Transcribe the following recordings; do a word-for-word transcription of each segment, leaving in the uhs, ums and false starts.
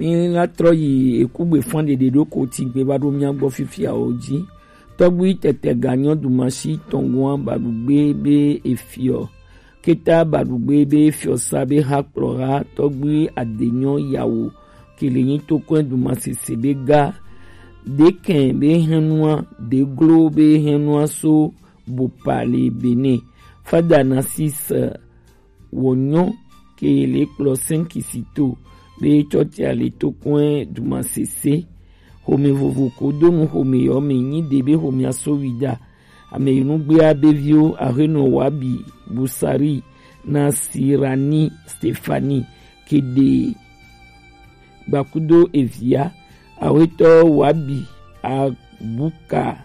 Mi la trɔ yi ekugbe fan ɖeɖe ɖo ko tigbe va ɖo mia gbɔ fifia o ji. Tɔgbi tɛtɛ ga nyɔ dumasi tɔngua baɖugbe be efiɔ. Keta baɖugbe be efiɔ sa be ha kplɔ ha tɔgbi adenyɔ yawo. Kele nyi tokɔn dumasese be ga. Dekɛn be hɛnua, deglo be hɛnua so bopa le Benin. Fada Narcisse Wònyɔ ke le kplɔ sɛnkisito be tsɔtsia le to kɔe dumasese. Xome vovo ko do nu xome yɔ me nyi de be xomea so wi da. Ame yi nugbea be viwo ahenɔ Wabi, Busari, Nasirani, Stefani, Kede, Gbakudo evia, awetɔ Wabi, Abuka,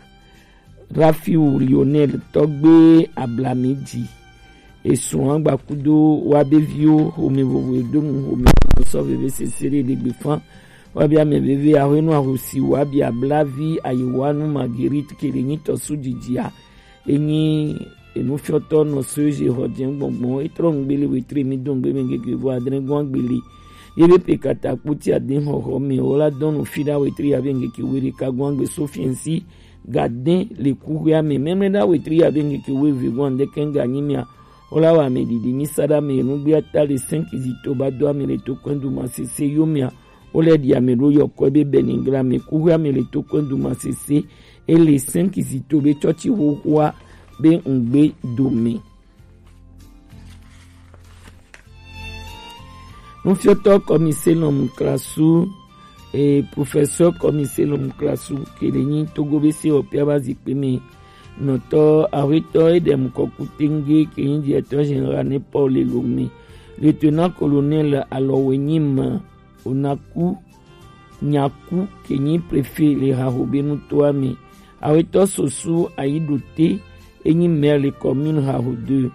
Rafiu Lionel tɔgbe Ablamidzi. Esrɔ̃a gbakudo wa be viwo xome vovo edonu xome sɔ veve sese ɖe ɖegbe fan. Wa be ame veve aƒenɔ ahosi wa be ablavi ayiwanu Marguerite kele nyitɔ su dzidzia. Enyi enufiɔtɔ nɔ so eze xɔ dze gbɔngbɔn etrɔ ŋgbele wetre mi do ŋgbe me ŋgeke vo adre gɔn agbele. Ye be pe kata kpoti ade xɔxɔ me wo la dɔn nu fi ɖa wetre ya be ŋgeke we ɖeka gɔn agbe so fiɛnsi. Gadin le kuxuea me mɛmlɛ ɖa wetri ya be ŋkeke wo eve gɔn ɖe kɛn ga nyi mia. Wo la wa ame ɖiɖi mi sa ɖa me nu gbia ta le cinq zito ba do ame le to kɔn du ma sese yo mia. Wo le ɖi ame ɖo yɔ kɔ be benigra me kuxuea me le to kɔn du ma sese. E le cinq zito be tsɔtsi xoxoa be ŋgbe do me. Nufiɔtɔ kɔmise lɔmu klasu e professeur kɔmise lɔmu klasu kele nyi togo be se ɔpia ba zikpe me nɔtɔ ahwetɔ edem kɔku tenge ke nyi directeur général ne paul lome. Lieutenant colonel alɔwe nyi ma onaku nyaku ke nyi préfet le haho be nutoa me. Awetɔ sosu ayiɖote enyi maire le commune haho deux.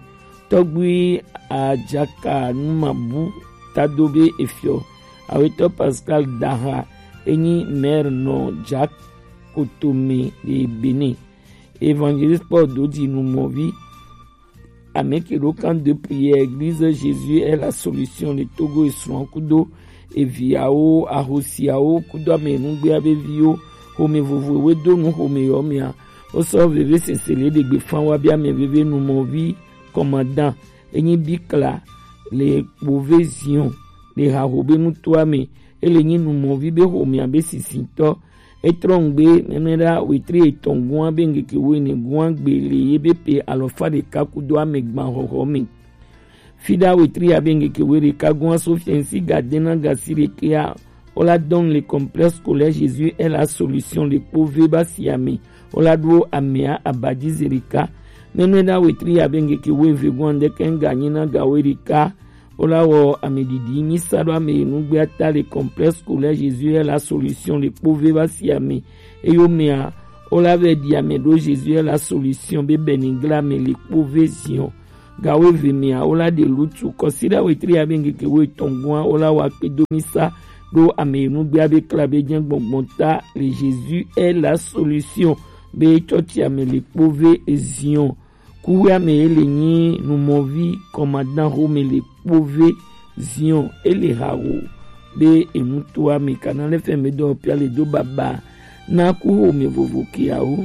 Tɔgbui ajaka numabu tado be efiɔ. Awetɔ Pascal Daha enyi maire nɔ jakotome le Benin. Évangéliste Paul Dodi numɔvi ame ke ɖo camp de prière église Jésus est la solution le Togo esrɔ̃ kudo eviawo ahosiawo kudo ame nugbea be viwo xome vovo we do nu xome yɔ mea. Wosɔ veve sese le ɖegbe fan wa be ame veve numɔvi commandant enyi bikla le kpove zion le haho be nutoa me. Ele nyi numɔvi be xomea be sisitɔ. Etrɔ ŋgbe mɛmɛɖa wetri etɔn gua be ŋkeke wo ene gua gbe le ye be pe alɔfa ɖeka kudo ame gban xɔxɔ me. Fiɖa wetri ya be ŋkeke wo ɖeka gua so fiɛnsi ga dena gasi ɖekea. Wo la dɔn le complexe scolaire Jésus est la solution le kpove ba si ame. Wo la ɖo amea abadi ze ɖeka. Mɛmɛɖa wetri ya be ŋkeke wo eve gua ŋdeke ŋga nyi na ga wo ɖeka. Wo la wɔ ame ɖiɖi mi sa ɖo ame yi nugbea ta le complexe scolaire Jésus est la solution le kpove va si ame. Eyo mea wo la vɛ ɖi ame ɖo Jésus est la solution be benigra me le kpove zion. Ga wo eve mea wo la ɖe lutu kɔsiɖa wetri ya be ŋkeke wo etɔn gua wo la wa kpedo mi sa ɖo ame yi nugbea be kla be jɛ gbɔngbɔn ta le Jésus est la solution be tsɔtsi ame le kpove zion. Kuxuea me ye le nyi numɔvi kɔmadan xome le kpove zion ele hawo be enutoa me kana le fɛn me dɔ pia le do baba na kuxome vovo kiawo.